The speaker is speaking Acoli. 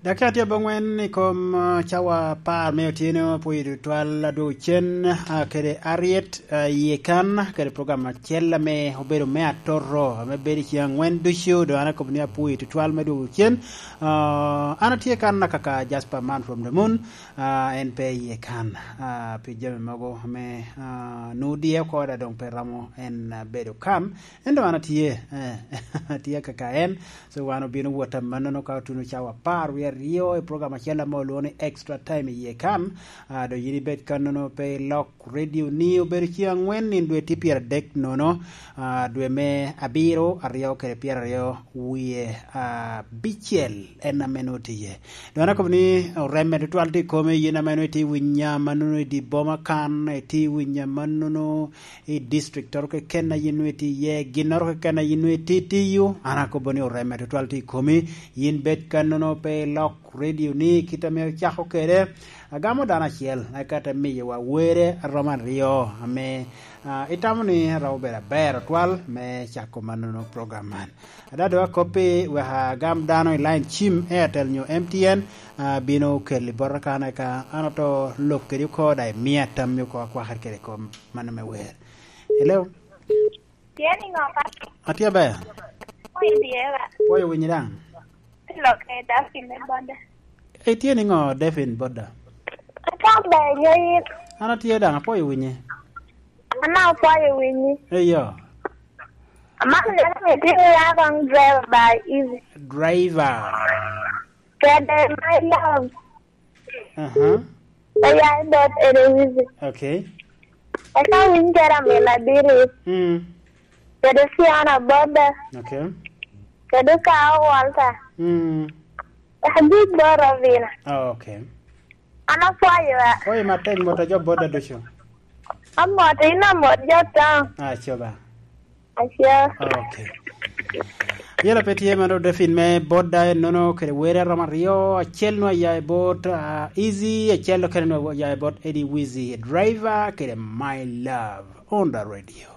Dakika tye abongwen i kom cawa apar me otyeno pwoyo tutwal adwogo cen kede Harriet iye kan kede program acel me obedo me atoro me bedo i ceng angwen ducu dong an akobo ni apwoyo tutwal me dwogo cen an atye kan kaka Jasper man from the moon en pe iye kan pi jami mogo me nuu diye oko dong pe romo en bedo kan Ento an atye, eh, atye kaka en. So wan obino wot manono ka otuno cawa apar wiye aryo i program acel ma olwongo ni Extra Time i iye kan. Ah, do in ibed kanono pe ilok radio ni obedo ceng angwen nino dwe tye pyeradek nono, ah, dwe me abiro aryo kede pyeraryo wiye abicel en ame nongo tye iye. Do an akobo ni oreme tutwal tye i kome in ame nongo itye winya manono i dye boma kan, itye winya manono I district oro keken aye nongo itye iye, ginoro keken aye nongo itye itiyo, an akobo ni oreme tutwal tye i komi. In bed ka nono pe ilok radio ni kite me ocako kwede. Agamo dano acel eka te miyo wa were aromo aryo ame itamo ni romo bedo aber tutwal me cako ma nono program man. Ada dong akoppi wek agam dano i line cim Airtel nyo MTN bino keli bota kan eka an oto lok kedi oko dok imiya tammi oko akwakere kede kom mano me wer. Hello. Tye ni ngo pa? Atye aber. Pwoyo dyera. Pwoyo winyi dang. Lok e Daphine me boda. Itye ni ngo Daphine boda? Atye aber nyo in. An atye dang apwoyo winyi. An apwoyo winyi. Eyo. Amako neno ni itye ya kong driver by easy. Driver. Kede my love. Uh-huh. Oya bot Eloise. Okay. Eka winy kera min Adiris. Mm. Kede Fiona Boda. Okay. Kede Kao Walter. Mm. Abic bot Robina. Oh, okay. An apwoyo a. Pwoyo matek moto jo boda ducu. Amoto in amot jo town. Ah, coba. Acio. Okay. Yelo pe tye mano Delphine me boda en nono kede were aromo aryo acel nwo aya i bot uh, Easy acel okene nwo aya i bot Eddie Wizzy driver kede My Love on the radio.